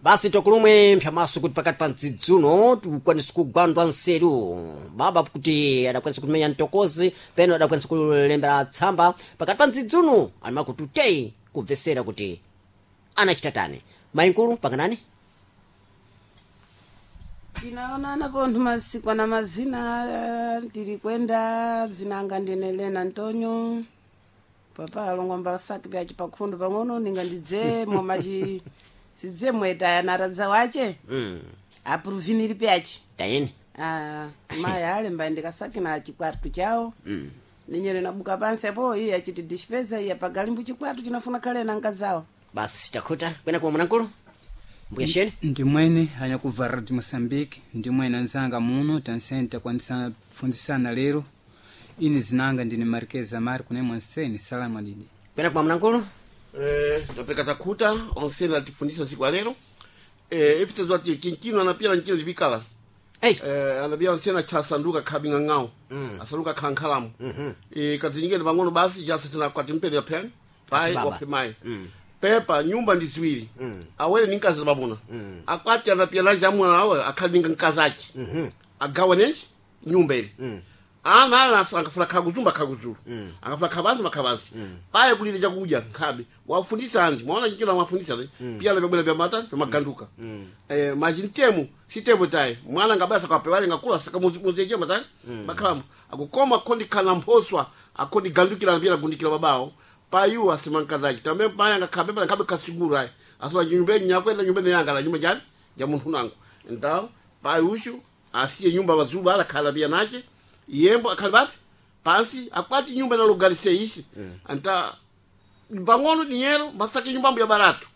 Basi tokulumwe mphyamaso kuti pakati pa mdzidzuno tikwanisa kugwandwa nseru baba kuti adakwanisa kutimenya mtokozi peno adakwanisa kulembera tsamba pakati pa mdzidzuno animakuti utei kubvesera kuti anachita tani mayinkulu pakanani. Tinaonana pontho masiku na mazina tili kwenda dzinanga ndine Lena Antonio papa alongwa mbasaki pyaci pakhundu pang'ono ninga ndidze momaci sidze mwetaya naradza wace apuruviniri pyaci. Tayeni. Ah, maya alemba ndikasaki na chikwartu chawo ninyere nabuka pansi apo iye achiti dispesa iye pagalimbu chikwartu chinafuna khale na nkazawo. Basi takhuta kwena kuwa mwanamkulu mbuya sheni. Ndimwene anyakuvara de Moçambique, ndimwene anzanga muno tansenta kwanisa fundisana lero. Ini zinanga ndine Marquez Amar kune Monsene salamu alidi. Kwena kuwa mwanamkulu. Tapeka takuta onsene atifundisa siku ya lero episezo ati chinkino anapia nchino libikala. Ei. Anapia onsene chasanduka khabing'ang'ao asanduka khankhalamu kadzinyingene pang'ono basi jasasena kwati mpere pheni pai. Baba. Waphe mayi pepa nyumba ndi ziwiri awere ni nkazi pamuna akwati anapia naji amuna awe akhali ninga nkazi aci agawanenji nyumba ili ana ana angafuna khakuzumba khakuzulu angafuna khabanzi makhabanzi paye kulile chakudya nkhabe wafundisa andi mwaona chichilo amafundisa le pia lebebwela bya mata byamaganduka machi ntemu sitemu tayi mwana ngabasa kapewaje ngakula saka muzeje matani bakhalamo akukoma khondi khana mphoswa akhondi gandukira pia gundikira babawo payu asimankazachi tambe paya ngakhabe pala nkhabe kasigura ayi asala nyumba nyakwenda nyumba yanga la nyumba jani ja munthu nangu ndawo payu ushu asiye nyumba vazulu ala khala pia nache yembo akhali papi pansi akwati nyumba nalogalise ishi anta pang'ono dinyero masake nyumbambo ya baratu.